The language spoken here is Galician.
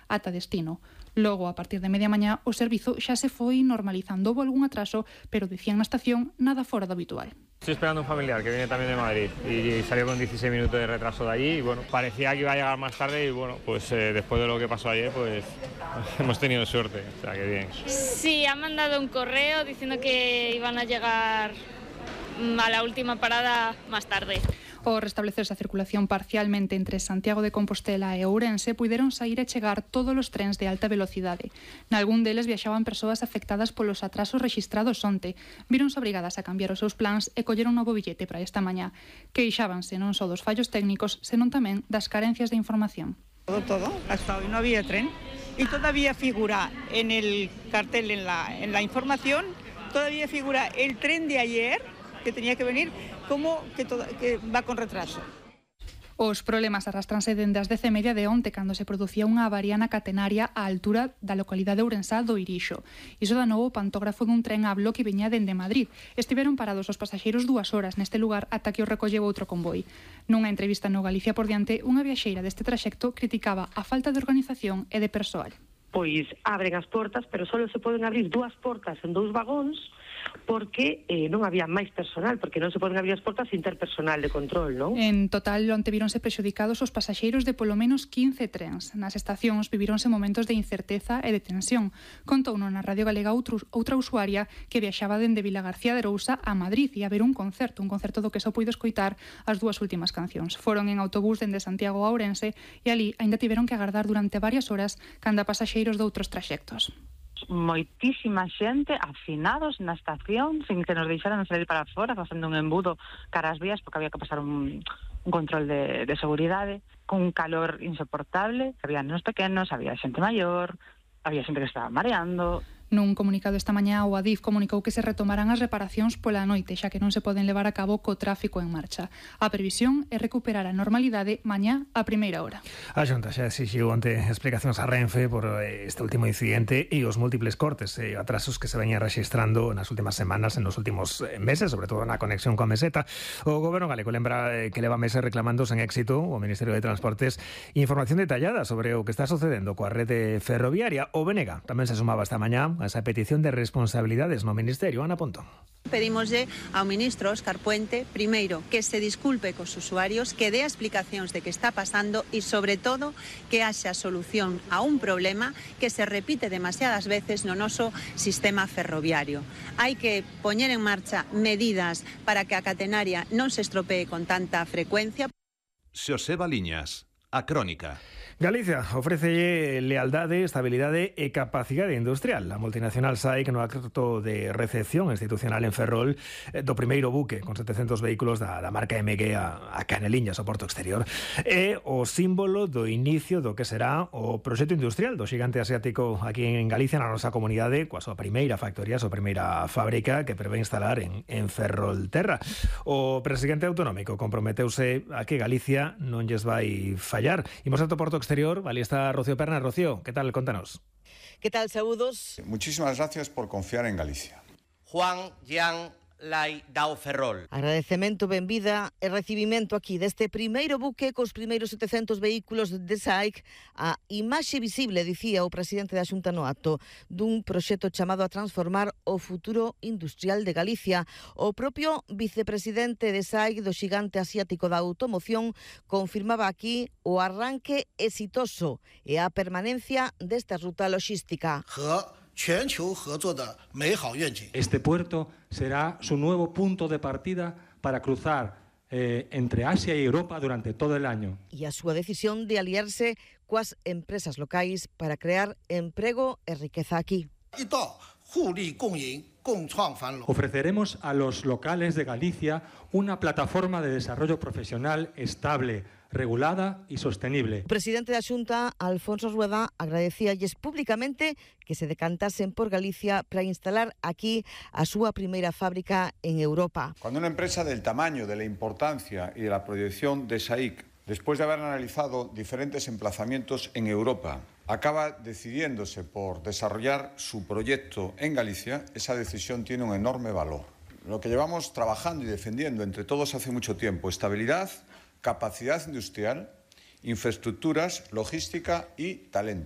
ata destino. Logo, a partir de media mañá, o servizo xa se foi normalizando. Houbo algún atraso, pero dicían na estación nada fora do habitual. Estoy esperando a un familiar que viene también de Madrid y salió con 16 minutos de retraso de allí y bueno, parecía que iba a llegar más tarde y bueno, pues después de lo que pasó ayer, pues hemos tenido suerte, o sea que bien. Sí, han mandado un correo diciendo que iban a llegar a la última parada más tarde. Ao restablecerse a circulación parcialmente entre Santiago de Compostela e Ourense, puideron saír e chegar todos os trens de alta velocidade. Nalgún deles viaxaban persoas afectadas polos atrasos rexistrados onte. Víronse obrigadas a cambiar os seus plans e colleron un novo billete para esta mañá. Queixábanse non só dos fallos técnicos, senón tamén das carencias de información. Todo. Hasta hoy no había tren y todavía figura en el cartel, en la información, todavía figura el tren de ayer que tenía que venir como que va con retraso. Os problemas arrastranse dende as 10:30 de onte, cando se producía unha avaría na catenaria á altura da localidade ourensá do Irixo. Iso da novo o pantógrafo dun tren a bloque que viña dende Madrid. Estiveron parados os pasaxeiros 2 horas neste lugar ata que o recolleu outro convoi. Nunha entrevista no Galicia por diante, unha viaxeira deste traxecto criticaba a falta de organización e de persoal. Pois abren as portas, pero só se poden abrir 2 portas en 2 vagóns porque non había máis personal, porque non se poden abrir as portas sin ter personal de control, non? En total, onte víronse prexudicados os pasaxeiros de polo menos 15 trens. Nas estacións vivíronse momentos de incerteza e de tensión. Contouno na Radio Galega outra usuaria que viaxaba dende Vilagarcía de Arousa a Madrid e a ver un concerto do que só puido escoitar as 2 últimas cancións. Foron en autobús dende Santiago a Ourense e ali aínda tiveron que agardar durante varias horas canda pasaxeiros de outros traxectos. Moitísima xente afinados na estación sin que nos deixaran salir para fora, facendo un embudo cara ás vías porque había que pasar un control de seguridade, con un calor insoportable. Había nenos pequenos, había xente maior, había xente que estaba mareando. Nun comunicado esta mañá, o Adif comunicou que se retomarán as reparacións pola noite, xa que non se poden levar a cabo co tráfico en marcha. A previsión é recuperar a normalidade mañá a primeira hora. A Xunta xa exixiu onte explicacións a Renfe por este último incidente e os múltiples cortes e atrasos que se veñan rexistrando nas últimas semanas, en os últimos meses, sobre todo na conexión coa meseta. O Goberno galego lembra que leva meses reclamando sen éxito o Ministerio de Transportes información detallada sobre o que está sucedendo coa rede ferroviaria. O Benega tamén se sumaba esta mañá a esa petición de responsabilidades no Ministerio. Ana Pontón. Pedimoslle ao ministro Óscar Puente, primeiro, que se disculpe cos usuarios, que dé explicacións de que está pasando e, sobre todo, que haxa solución a un problema que se repite demasiadas veces no noso sistema ferroviario. Hai que poñer en marcha medidas para que a catenaria non se estropee con tanta frecuencia. Xosé Baliñas, A Crónica. Galicia ofrece lealdade, estabilidade e capacidade industrial. A multinacional SAIC no acto de recepción institucional en Ferrol do primeiro buque con 700 vehículos da marca MG a Caneliñas, o porto exterior. É o símbolo do inicio do que será o proxecto industrial do xigante asiático aquí en Galicia, na nosa comunidade, coa súa primeira factoría, a súa primeira fábrica que prevé instalar en Ferrolterra. O presidente autonómico comprometeuse a que Galicia non lles vai fallar. Imos ao porto exterior, ali está Rocío Perna. Rocío, ¿qué tal? Contanos. ¿Qué tal? Saúdos. Muchísimas gracias por confiar en Galicia. Juan Jan Lai Dao Ferrol. Agradecemento, benvida e recibimento aquí deste primeiro buque cos primeiros 700 vehículos de SAIC, a imaxe visible, dicía o presidente da Xunta no acto, dun proxecto chamado a transformar o futuro industrial de Galicia. O propio vicepresidente de SAIC, do xigante asiático da automoción, confirmaba aquí o arranque exitoso e a permanencia desta ruta logística. Este puerto será su nuevo punto de partida para cruzar entre Asia y Europa durante todo el año. E a súa decisión de aliarse coas empresas locais para crear emprego e riqueza aquí. Ofreceremos a los locales de Galicia una plataforma de desarrollo profesional estable, regulada y sostenible. O presidente da Xunta, Alfonso Rueda, agradecíalles públicamente que se decantasen por Galicia para instalar aquí a súa primeira fábrica en Europa. Cuando una empresa del tamaño, de la importancia y de la proyección de SAIC, después de haber analizado diferentes emplazamientos en Europa, acaba decidiéndose por desarrollar su proyecto en Galicia, esa decisión tiene un enorme valor. Lo que llevamos trabajando y defendiendo entre todos hace mucho tiempo: estabilidad, capacidad industrial, infraestructuras, logística y talento.